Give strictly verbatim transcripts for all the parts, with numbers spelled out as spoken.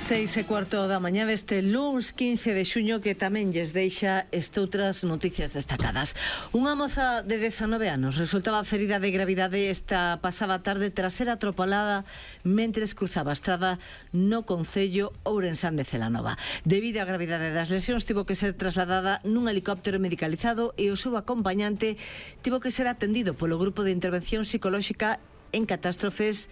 Seis e cuarto da mañá deste luns quince de xuño, que tamén lles deixa estoutras noticias destacadas. Unha moza de dezanove anos resultaba ferida de gravidade esta pasada tarde tras ser atropelada mentres cruzaba a estrada no concello ourensán de Celanova. Debido á gravidade das lesións, tivo que ser trasladada nun helicóptero medicalizado e o seu acompañante tivo que ser atendido polo Grupo de Intervención Psicolóxica en Catástrofes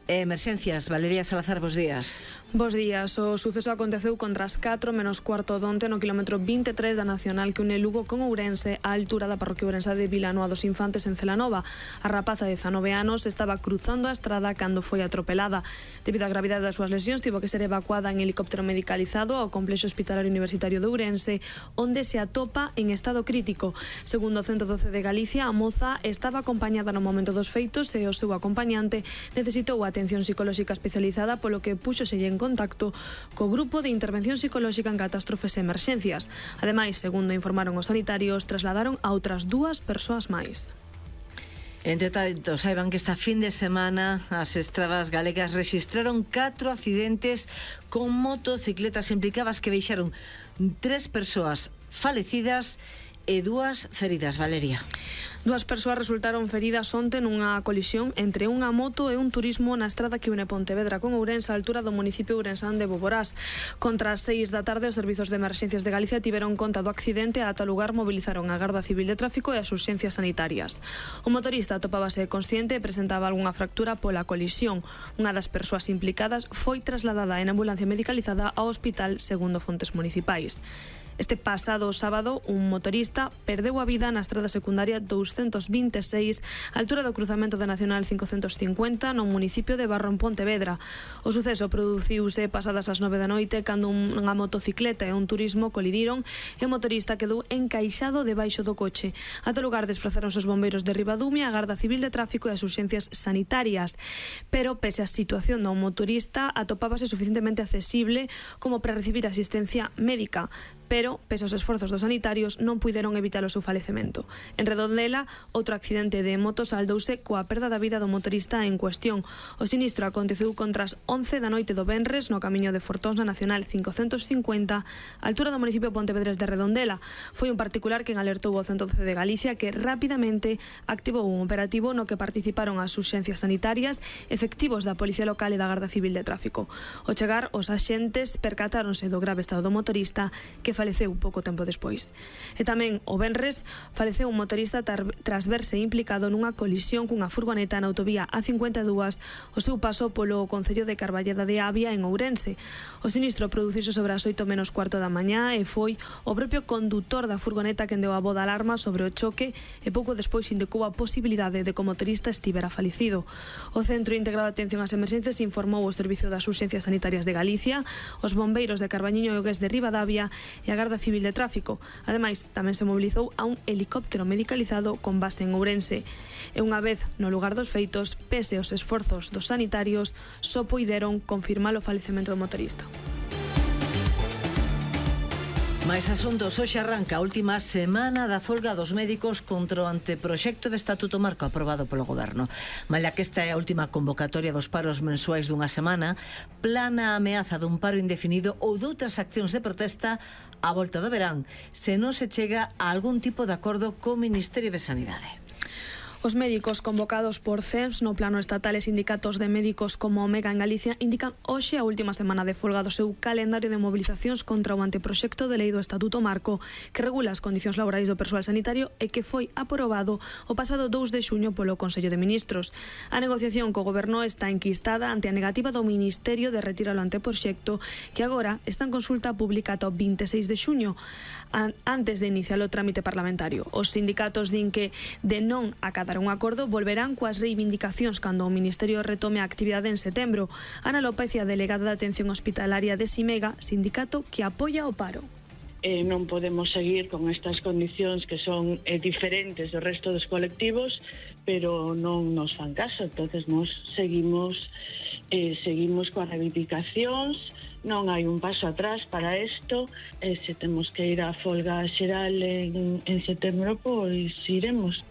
e Emerxencias. Valeria Salazar, bos días. Bos días. O suceso aconteceu contra as catro menos cuarto donte no kilómetro vinte e tres da Nacional que une Lugo con Ourense á altura da parroquia ourensa de Vilanoa dos Infantes en Celanova. A rapaza de dezanove anos estaba cruzando a estrada cando foi atropelada. Debido á gravidade das súas lesións, tivo que ser evacuada en helicóptero medicalizado ao complexo hospitalario universitario de Ourense, onde se atopa en estado crítico. Segundo o ciento doce de Galicia, a moza estaba acompañada no momento dos feitos e o seu acompañante necesitou a atención psicolóxica especializada, polo que púxoselle en contacto co Grupo de Intervención Psicolóxica en Catástrofes e Emerxencias. Ademais, segundo informaron os sanitarios, trasladaron a outras dúas persoas máis. Entre tanto, saiban que esta fin de semana as estradas galegas rexistraron catro accidentes con motocicletas implicadas que deixaron tres persoas falecidas e dúas feridas. Valeria. Dúas persoas resultaron feridas onte nunha colisión entre unha moto e un turismo na estrada que une Pontevedra con Ourense, á altura do municipio ourensán de Boborás. Contra as seis da tarde, os servizos de emerxencias de Galicia tiveron conta do accidente e ata o lugar mobilizaron a Garda Civil de Tráfico e as urxencias sanitarias. O motorista atopábase consciente e presentaba algunha fractura pola colisión. Unha das persoas implicadas foi trasladada en ambulancia medicalizada ao hospital, segundo fontes municipais. Este pasado sábado, un motorista perdeu a vida na estrada secundaria douscentos vinte e seis, á altura do cruzamento da Nacional cincocentos cincuenta, no municipio de Barro en Pontevedra. O suceso produciuse pasadas as nove da noite, cando unha motocicleta e un turismo colidiron e o motorista quedou encaixado debaixo do coche. Ata o lugar desplazaronse os bombeiros de Ribadumia, a Garda Civil de Tráfico e as urxencias sanitarias. Pero, pese á situación do motorista, atopábase suficientemente accesible como para recibir asistencia médica. Pero, pese aos esforzos dos sanitarios, non puideron evitar o seu falecemento. En Redondela, outro accidente de moto saldouse coa perda da vida do motorista en cuestión. O sinistro aconteceu contra as once da noite do venres no camiño de Fortóns na Nacional cincocentos cincuenta, á altura do municipio Pontevedrés de Redondela. Foi un particular quen alertou ao ciento doce de Galicia, que rapidamente activou un operativo no que participaron as urxencias sanitarias, efectivos da Policía Local e da Garda Civil de Tráfico. Ao chegar, os axentes percatáronse do grave estado do motorista, que faleceu pouco tempo despois. E tamén o venres faleceu un motorista tras verse implicado nunha colisión cunha furgoneta na autovía A cincuenta e dúas o seu paso polo concello de Carballeda de Avia en Ourense. O sinistro produciuse sobre as oito menos cuarto da mañá e foi o propio condutor da furgoneta quen deu a voz de alarma sobre o choque e pouco despois indicou a posibilidade de que o motorista estivera falecido. O Centro Integrado de Atención ás Emerxencias informou o Servicio das Urxencias Sanitarias de Galicia, os bombeiros de Carbañiño e o Gués de Ribadavia e a Garda Civil de Tráfico. Ademais, tamén se mobilizou a un helicóptero medicalizado con base en Ourense. E unha vez no lugar dos feitos, pese aos esforzos dos sanitarios, só puideron confirmar o falecemento do motorista. Mais asuntos. Hoxe arranca a última semana da folga dos médicos contra o anteproxecto de Estatuto Marco aprobado polo Goberno. Malia que esta é a última convocatoria dos paros mensuais dunha semana, plana a ameaza dun paro indefinido ou doutras accións de protesta á volta do verán, se non se chega a algún tipo de acordo co Ministerio de Sanidade. Os médicos convocados por C E M S no plano estatal e sindicatos de médicos como Omega en Galicia indican hoxe a última semana de folga do seu calendario de mobilizacións contra o anteproxecto de lei do Estatuto Marco que regula as condicións laborais do persoal sanitario e que foi aprobado o pasado dous de xuño polo Consello de Ministros. A negociación co Goberno está enquistada ante a negativa do Ministerio de retirar o anteproxecto, que agora está en consulta pública ata o vinte e seis de xuño, antes de iniciar o trámite parlamentario. Os sindicatos din que, de non acatar un acordo, volverán coas reivindicacións cando o Ministerio retome a actividade en setembro. Ana López, a delegada de Atención Hospitalaria de Simega, sindicato que apoia o paro. Eh, non podemos seguir con estas condicións que son eh, diferentes do resto dos colectivos, pero non nos fan caso. Entonces nos seguimos eh, seguimos coas reivindicacións. Non hai un paso atrás para isto, e se temos que ir á folga xeral en, en setembro, pois iremos.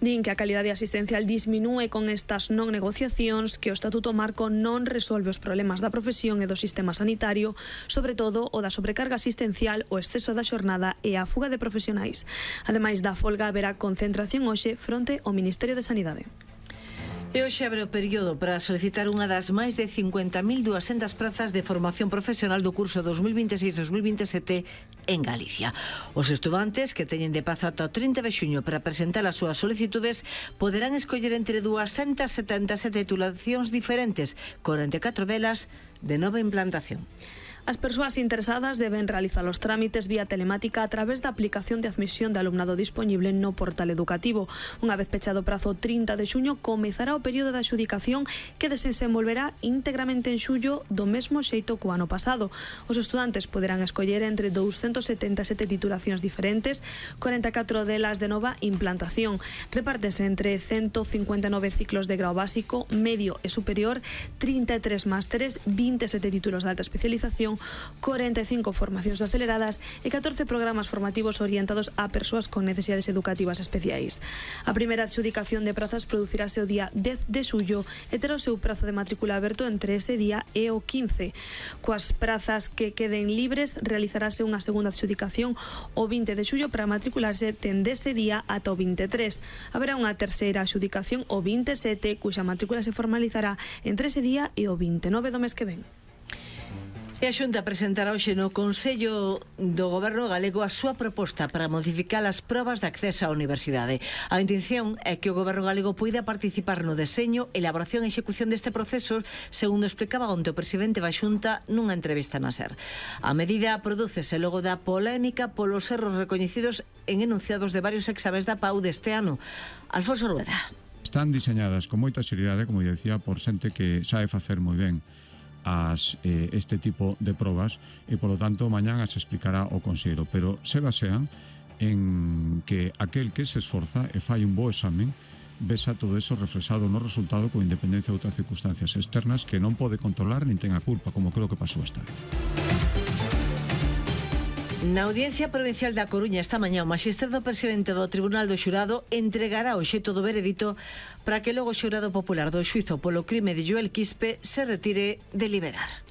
Din que a calidade asistencial disminúe con estas non negociacións, que o Estatuto Marco non resolve os problemas da profesión e do sistema sanitario, sobre todo o da sobrecarga asistencial, o exceso da xornada e a fuga de profesionais. Ademais da folga, haberá concentración hoxe fronte ao Ministerio de Sanidade. E hoxe abre o período para solicitar unha das máis de cincuenta mil duascentas prazas de formación profesional do curso dos mil vinte e seis dos mil vinte e sete en Galicia. Os estudantes que teñen de prazo ata o trinta de xuño para presentar as súas solicitudes poderán escoller entre duascentas setenta e sete titulacións diferentes, corenta e catro delas de nova implantación. As persoas interesadas deben realizar os trámites vía telemática a través da aplicación de admisión de alumnado disponible no portal educativo. Unha vez pechado o prazo trinta de xuño, comezará o período de adxudicación que desenvolverá íntegramente en xullo do mesmo xeito co ano pasado. Os estudantes poderán escoller entre doscientas setenta e sete titulacións diferentes, corenta e catro delas de nova implantación. Repártese entre ciento cincuenta e nove ciclos de grau básico, medio e superior, trinta e tres másteres, vinte e sete títulos de alta especialización, corenta e cinco formacións aceleradas e catorce programas formativos orientados a persoas con necesidades educativas especiais. A primeira adxudicación de prazas producirase o día dez de xullo e terá o seu prazo de matrícula aberto entre ese día e o quince. Coas prazas que queden libres, realizarase unha segunda adxudicación o vinte de xullo para matricularse dende ese día ata o vinte e tres. Haberá unha terceira adxudicación o vinte e sete, cuxa matrícula se formalizará entre ese día e o vinte e nove do mes que ven. E a Xunta presentará hoxe no Consello do Goberno galego a súa proposta para modificar as probas de acceso á universidade. A intención é que o Goberno galego poida participar no deseño, elaboración e execución deste proceso, segundo explicaba onte o presidente da Xunta nunha entrevista na SER. A medida prodúcese logo da polémica polos erros recoñecidos en enunciados de varios exames da P A U deste ano. Alfonso Rueda. Están diseñadas con moita seriedade, como decía, por xente que sabe facer moi ben as, eh, este tipo de probas e, polo tanto, mañán as explicará o Consello, pero se basean en que aquel que se esforza e fai un bo examen vesa todo eso reflexado no resultado con independencia de outras circunstancias externas que non pode controlar nin ten a culpa, como creo que pasou esta vez. Na Audiencia Provincial da Coruña esta mañá o magistrado presidente do Tribunal do Xurado entregará o xeito do veredito para que logo o xurado popular do xuízo polo crime de Joel Quispe se retire de deliberar.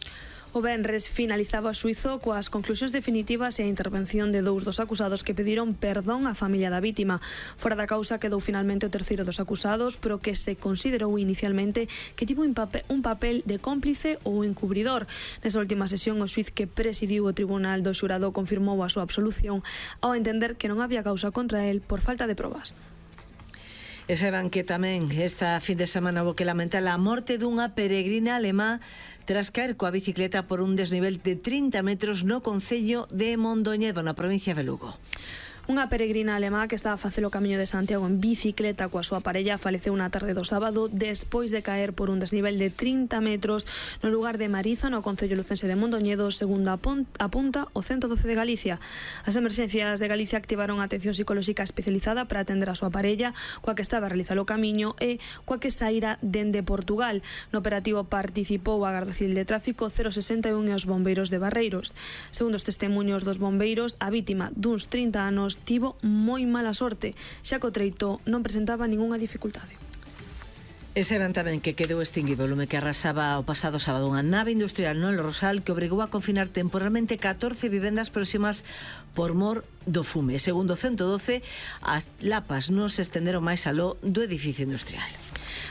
O venres finalizaba o xuízo coas conclusións definitivas e a intervención de dous dos acusados que pediron perdón á familia da vítima. Fora da causa quedou finalmente o terceiro dos acusados, pero que se considerou inicialmente que tivo un papel, un papel de cómplice ou encubridor. Nesa última sesión, o xuíz que presidiu o Tribunal do Xurado confirmou a súa absolución ao entender que non había causa contra el por falta de probas. E saben que tamén esta fin de semana houbo que lamentar a morte dunha peregrina alemá tras caer coa bicicleta por un desnivel de trinta metros no concello de Mondoñedo, na provincia de Lugo. Unha peregrina alemá que estaba a facer o camiño de Santiago en bicicleta coa súa parella faleceu na tarde do sábado despois de caer por un desnivel de trinta metros no lugar de Mariza, no concello lucense de Mondoñedo, segundo apunta o ciento doce de Galicia. As emerxencias de Galicia activaron a atención psicolóxica especializada para atender a súa parella, coa que estaba a realizar o camiño e coa que saíra dende Portugal. No operativo participou a Garda Civil de Tráfico, cero sesenta e un e os bombeiros de Barreiros. Segundo os testemunhos dos bombeiros, a vítima duns trinta anos tivo moi mala sorte, xa que o treito non presentaba ningunha dificultade. E saben tamén que quedou extinguido o lume que arrasaba o pasado sábado unha nave industrial no El Rosal que obrigou a confinar temporalmente catorce vivendas próximas por mor do fume. Segundo o ciento doce, as lapas non se estenderon máis aló do edificio industrial.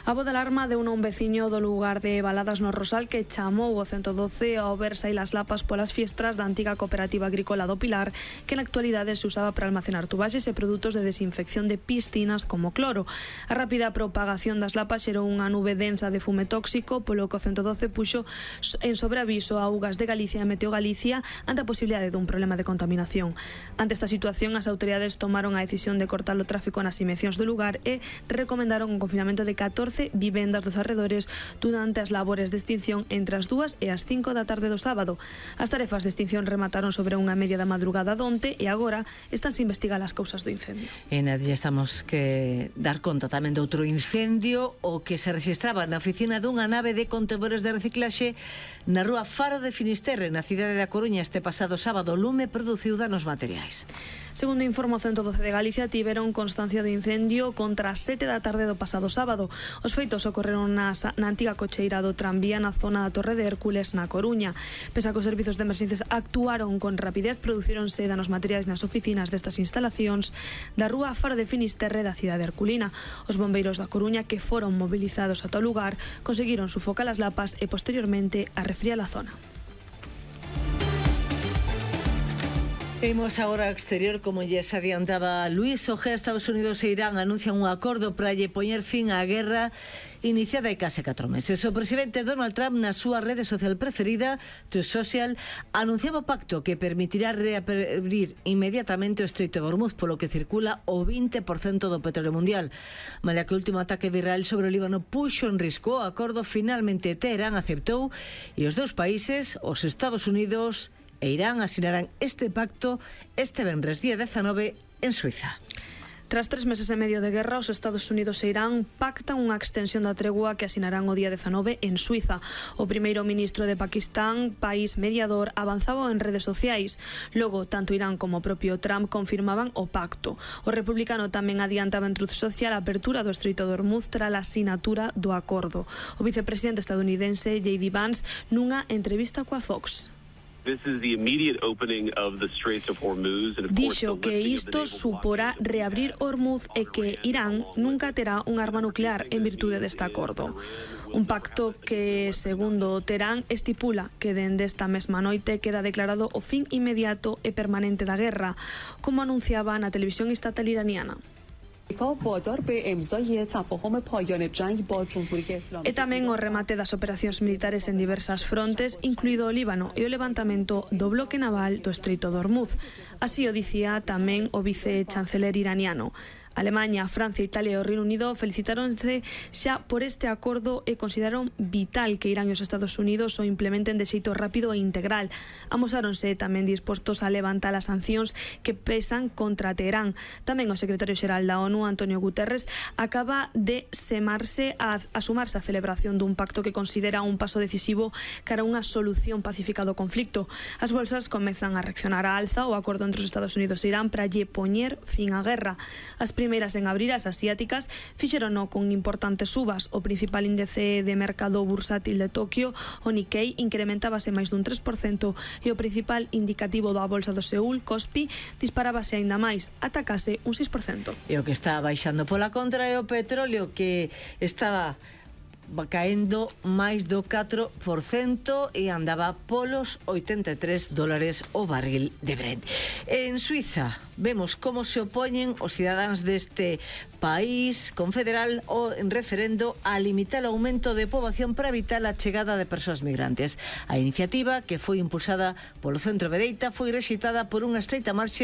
A voz de alarma deu un veciño do lugar de Baladas no Rosal que chamou o ciento doce ao ver saír as lapas polas fiestras da antiga cooperativa agrícola do Pilar, que na actualidade se usaba para almacenar tubaxes e produtos de desinfección de piscinas como cloro. A rápida propagación das lapas xerou unha nube densa de fume tóxico, polo que o ciento doce puxo en sobreaviso a Augas de Galicia e Meteo Galicia ante a posibilidade dun problema de contaminación. Ante esta situación, as autoridades tomaron a decisión de cortar o tráfico nas inmediacións do lugar e recomendaron un confinamento de catorce catorce vivendas dos arredores durante as labores de extinción entre as dúas e as cinco da tarde do sábado. As tarefas de extinción remataron sobre unha media da madrugada donte e agora estánse a investigar as causas do incendio. E na lle estamos que dar conta tamén de outro incendio, o que se registraba na oficina dunha nave de contedores de reciclaxe na rúa Faro de Finisterre, na cidade da Coruña, este pasado sábado. O lume produciu danos materiais. Segundo informa o ciento doce de Galicia, tiveron constancia do incendio contra as sete da tarde do pasado sábado. Os feitos ocorreron na, na antiga cocheira do tranvía na zona da Torre de Hércules, na Coruña. Pese a que os servizos de emerxencias actuaron con rapidez, producíronse danos materiais nas oficinas destas instalacións da rúa Faro de Finisterre da cidade herculina. Os bombeiros da Coruña, que foron movilizados ata o lugar, conseguiron sufocar as lapas e posteriormente a refriar a zona. Imos agora ao exterior, como lles adiantaba Luís Ojea. Estados Unidos e Irán anuncian un acordo para lle poñer fin á guerra iniciada hai case catro meses. O presidente Donald Trump, na súa rede social preferida, Truth Social, anunciaba o pacto que permitirá reabrir inmediatamente o Estreito de Hormuz, polo que circula o vinte por cento do petróleo mundial. Malia que o último ataque de Israel sobre o Líbano puxo en risco o acordo, finalmente Teherán aceptou e os dous países, os Estados Unidos e Irán, asinarán este pacto este venres día dezanove en Suiza. Tras tres meses e medio de guerra, os Estados Unidos e Irán pactan unha extensión da tregua que asinarán o día dezanove en Suiza. O primeiro ministro de Pakistán, país mediador, avanzaba en redes sociais. Logo, tanto Irán como o propio Trump confirmaban o pacto. O republicano tamén adiantaba en Truth Social a apertura do Estreito de Hormuz tras a asinatura do acordo. O vicepresidente estadounidense J D Vance nunha entrevista coa Fox dixo que isto suporá reabrir Hormuz e que Irán nunca terá un arma nuclear en virtude deste acordo. Un pacto que, segundo Teherán, estipula que dende esta mesma noite queda declarado o fin inmediato e permanente da guerra, como anunciaba na televisión estatal iraniana. E tamén o remate das operacións militares en diversas frontes, incluído o Líbano, e o levantamento do bloque naval do Estreito de Hormuz. Así o dicía tamén o vice-chanceler iraniano. Alemanha, Francia, Italia e o Reino Unido felicitáronse xa por este acordo e consideraron vital que Irán e os Estados Unidos o implementen de xeito rápido e integral. Amosáronse tamén dispostos a levantar as sancións que pesan contra Teherán. Tamén o secretario xeral da ONU, Antonio Guterres, acaba de semarse a, a sumarse á celebración dun pacto que considera un paso decisivo cara a unha solución pacífica do conflicto. As bolsas comezan a reaccionar á alza o acordo entre os Estados Unidos e Irán para lle poñer fin á guerra. As primeiras en abrir, as asiáticas, fixerono con importantes subas. O principal índice de mercado bursátil de Tokio, o Nikkei, incrementábase máis dun tres por cento e o principal indicativo da bolsa do Seúl, Kospi, disparábase aínda máis, atacase un seis por cento. E o que está baixando pola contra é o petróleo, que estaba caendo máis do catro por cento e andaba polos oitenta e tres dólares o barril de Brent. En Suiza vemos como se opoñen os cidadáns deste país confederal o en referendo a limitar o aumento de poboación para evitar a chegada de persoas migrantes. A iniciativa, que foi impulsada polo centro de dereita, foi rexeitada por unha estreita marxe